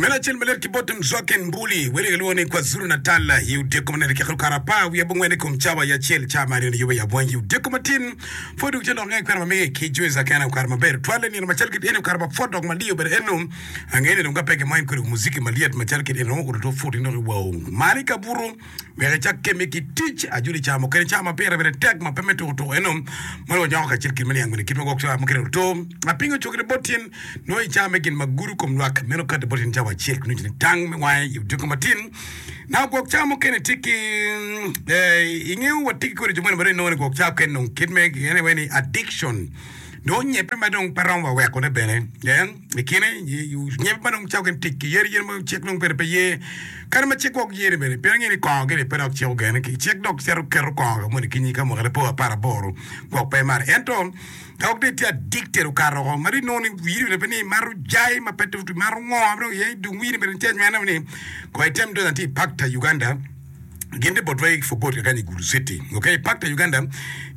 Meno acel malit ki bot Mzwaken Mbuli, wele gilwongo ni Kwazulu Natal i odyeko ma nene kekelo kare apar wiye abongwen i kom cawa i acel ca ma aryo niyube i abwangi i odyeko matin. Pwod dong ce lok nge kwena ma mege ki Joyce Akena okare maber tutwalle nino macal kit eni okare ma pwod dok maliyo bene eno angeyo ni dong ka pe gimo en kodi muziki malyet macal kit eni romo kudo two put in dok iwao malo i kabuto wek icak kemme ki tic ajoli ca mukene ca ma pire bene tek ma pe me tuko tuko eno ma dong wanyako kacel kit me niang bene kit ma gwok ca mukene oto apingo cokine bot tyen Nongo i cawa me gin ma gudo kom lwak meno kati bot in cawa acel ki nucu ni tang me wange i odiko matin. Na gwok cawa mukene tye ki ingeyo wa tye ki kodi jo moni ma dong inongo ni gwok cawa mukene dong kit me gine wai ni addiction dong onyebbe ma dong pe romo wa weko ne bene i kine nyebbe ma dong cawa mukene tic ki yadi yen ma cik dong bene pe ye kadi ma cik gwok ye ni bene pien angeyo ni kongo gini pe dok cik ogene ki cik dok cito keto kongo ka moni kinyi ka mwaka ne po aparaboro gwok pe imato ento Dok dong itye addicted okato woko ma dong inongo ni wiri bene pe ni imato jai ma pe imato ngo ma dong iye dong wiri bene tye anywena ni ko item donyo atir i Pakta Uganda gin tye botwa i Fogot kakany i Gulu City ok i Pakta Uganda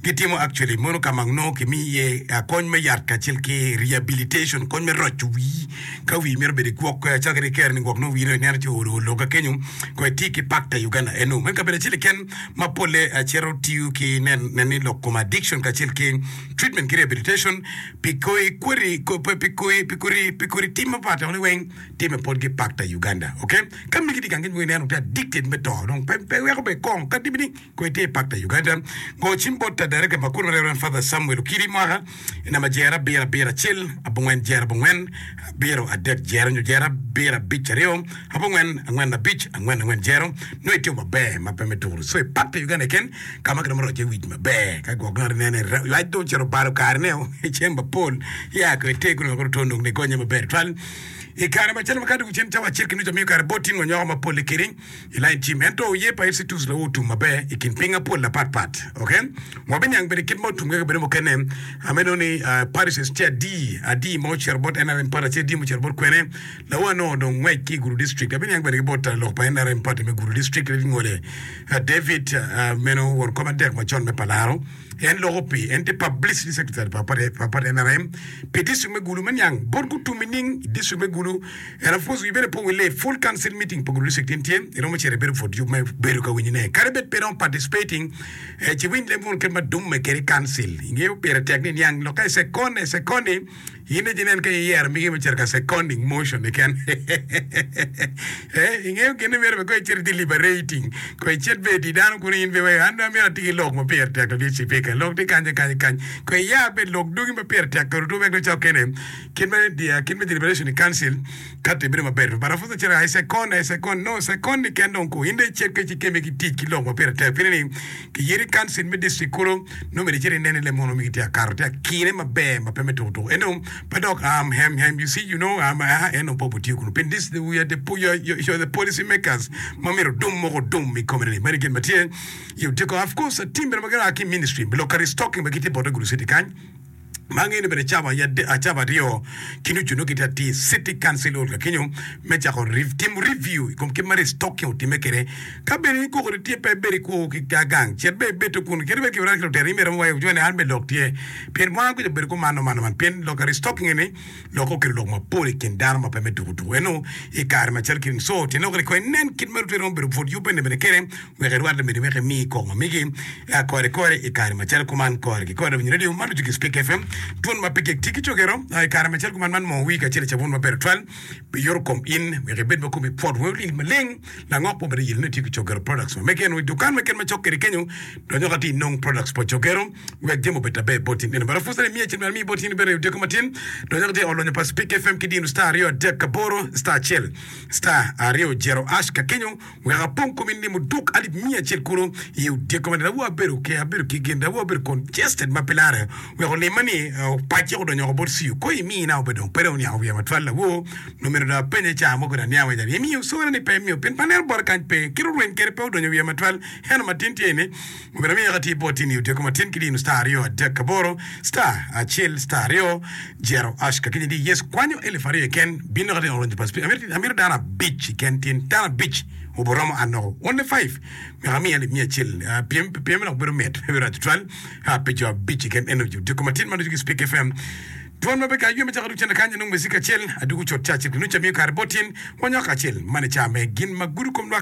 gitimo actually mono ka ma nongo kimiyo iye kony me yat kacel ki rehabilitation kony me roco wii ka wii mito bedo igwok calo kadi ikere ni gwok nongo wii dong ineno ci olo olo ka kenyo ko iti ki Pakta Uganda eno meno kabedo acel keken ma polle cito tiyo ki nen ni lok kom addiction kacel ki treatment ki rehabilitation pi koi kweri pi koi pi kori pi kori tim mapat ni weng time potgi pakta Uganda ok ka migi tye gang ki neno tye addicted me to dong pe pe weko be kong kadi bed ni koi tye pakta Uganda go cim bot director ma kunu Reverend Father Samuel Okidi mwaka i namba jero abiro abiro acel abongwen jero abongwen abiro adek jero nyo jero abiro abic aryo abongwen angwen abic angwen angwen jero nongo itimo maber ma pe me turu so i pak pa Uganda keken ka ma kiromo roco iye wic maber ka gwok ngat inene ywac dong ocito obalo karene i cem mapol ya ko ite kunu wek oto nong nigonye maber twal i kare macalo ma ka dong cen cawa acel ki nucu amiyo kare bot tin wanyoko mapol likiri I lain cim, ento oye pa Institutes lawu otum maber i kin piny apol apat pat. Ok, wabiniang bene kit ma otum kwede kabedo mukene. Ameno ni parishes tye adi, adi ma ocito bot NRM party acel adi ma ocito bot kwene. Lawu anongo dong ngwec ki i Gulu district. Abiniang bene ki bot lok pa NRM party me Gulu district Ngole David meno won kom adek macon me Palaro. En loko pi en tye publicity secretary pa party pa party NRM pi district me Gulu me niang bot gutum nining i district me Gulu. And of course wi bene po wille full council meeting pa Gulu district in tye iromo cito ibedo pwod yub me bedo ka winyo ne kadi bed pe iromo participating eh, ci winy leb wun kit ma dumme kede i council ingeyo pire tek ni niang lokke i second i second ni In aye inen ka iyero migi me cito ka seconding motion keken. Eh, ingeyo gin ni myero bene ko icit i deliberating, ko icit bene i di dano kunu in bene an dong amyero ati ki lok ma pire tek ladit cipika, lok tye kany kany kany. Ko iya bene lok dugi ma pire tek kede wek dong cokene kit me kit me deliberation i council kati bedo maber. But apud acito I second, I second, no second ni ken dong ku in dong icit ka ci keme ki tic ki lok ma pire tek pire ni Kiyeri council me district kulu nongo myero icit inen ni leb mono migi tye akato tye akine maber ma pe me tuku tuku ento pe dok um hem hem you see you know um ah en dong pe obitiyo kunu pien this we are the you are, you are the policy makers ma myero odum moko odum i kome ni meno gin ma tye i odiko of course team bene ma gin a ki ministry lok ka restocking ma gitye bote Gulu city kany Ma angeyo ni bene cawa aye cawa aryo ki nucu nongo gitye atir City Council Hall ka kenyo me cako timo review i kom kit ma restocking otimme kwede. Ka bene in koko ni tye pe ibedo ikwo ki gang cit bene ibed to kun kadi bed kiwirane ki lutino in myero iwaci ni an bene lok tye pien wan kuca obedo kuman man man pien lok ka restocking eni lok okelo lok mapol i kin dano ma pe me tuku tuku eno i kare macalo kit-ni so tyen lok ni kong inen kit ma lutino romo bedo pud yubbe bene kwede Wek irwatte mede wek imi koko ma megi kore kore i kare macalo kuman kore ki kore winyo radio man ducu ki Spik FM dwon ma pe gik tye ki cogero i kare macalo kuman man moo wii kacel i cabun maber tutwal pi yoto kom in wek ibed ma komi pwot weng olil maleng langok mo bene yelo ni tye ki cogero products ma mege en i dukan meken macok kede kenyo donyo ka ti inong products pa cogero wek jami obed aber bot in eno bene pud imiya cen bene amiyi bot in bene odiko matin donyo ka ti olonyo pa Spik FM ki dino star 2 3 8 star 1 star 2 0 ash ka kenyo Wek apong komi ni muduk alip miya acel kulu i odyeko ma dawu abedo ki abedo ki gin dawu abedo congested ma pe lare wek olima ni opacce odonyo oko bot CU ko imina obedo dong pe dong oniango wiya matwal lawo nomero dong apenye ca mo kede aniango iye imiyo sore ni pe imiyo pien pe aneno bote kany pe kit orweny kede pe odonyo wiya matwal ento matin tye ni obedo amiyo ka tye boti ni odyeko matin ki dino star aryo adek aboro star acel star aryo Jero ash ka kinyi di Yecu kwanyo elip aryo keken bin dok atye oronyo pa spirit amito amito dano abic keken tyen dano abic obo romo an noko only five wek amiya alip miya acel pyem pyem dok bedo mit pe bedo rac tutwal pi jo abic keken eno jo diko matin ma ducu ki speak FM. Twon ma pe ka aywe macako duk cente kany anongo mecik acel aduku cut ca acel ki nucu amiyo kare bot in wanyako acel man i ca me gin ma gudo kom lwak.